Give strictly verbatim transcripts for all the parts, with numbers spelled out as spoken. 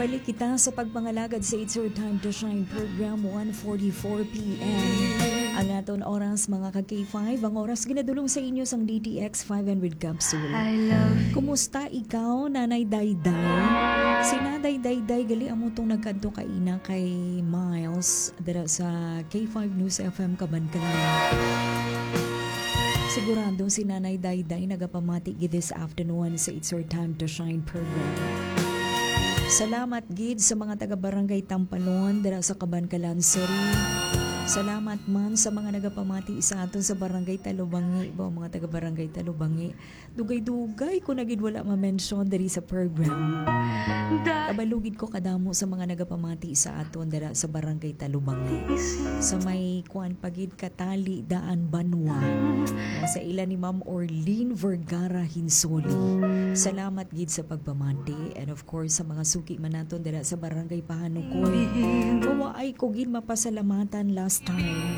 Balik kita sa pagpangalagad sa It's Your Time to Shine program, one forty-four p m. Ang aton oras, mga ka K five, ang oras ginadulong sa inyo sang D T X five hundred capsule. I love you. Kumusta ikaw, Nanay Dayday? Si Nanay Dayday, gali amo tong nagkadto kaina kay Miles dira sa K five News F M Kabankalan. Sigurado si Nanay Dayday nagapamati gid this afternoon sa It's Your Time to Shine program. Salamat gid sa mga taga Barangay Tampalon dira sa Kabankalan City. Salamat man sa mga nagapamati sa aton sa Barangay Talubangi, ba, mga taga Barangay Talubangi. Dugay-dugay ko na gid wala ma-mention diri sa program. Kabalo gid ko kadamo sa mga nagapamati sa aton dira sa Barangay Talubangi, sa may kuan pa gid, Katali, Daan, Banwa. Sa ila ni Ma'am Orlene Vergara Hinsoli. Salamat gid sa pagpamati. And of course, sa mga suki man naton dira sa Barangay Pahanukoy. Mawaay ko gid mapasalamatan last time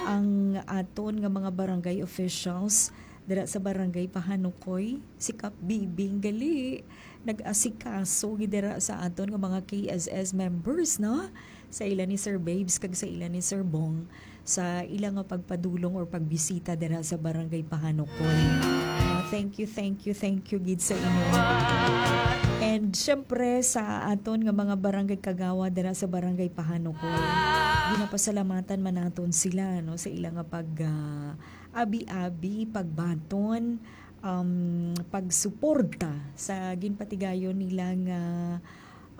ang aton nga mga barangay officials dira sa Barangay Pahanukoy, si Kap Bibing gali nag-asikaso gid dira sa aton nga mga K S S members, no? Sa ila ni Sir Babes kag sa ila ni Sir Bong sa ila nga pagpadulong or pagbisita dira sa Barangay Pahanukoy. Ah, thank you, thank you, thank you gid sa inyo. And syempre sa aton nga mga barangay kagawad dira sa Barangay Pahanukoy, ginapasalamatan man naton sila, no, sa ila nga pag ah, abi-abi, pagbaton, um, pagsuporta sa ginpatigayon nila nga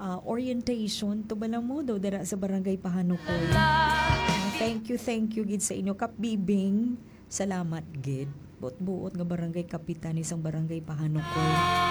ah, orientation to bala mo daw dira sa Barangay Pahanukoy. Ah, thank you, thank you gid sa inyo, Kap Bibing. Salamat gid. Buot-buot nga barangay kapitan ni sang Barangay Pahanukoy.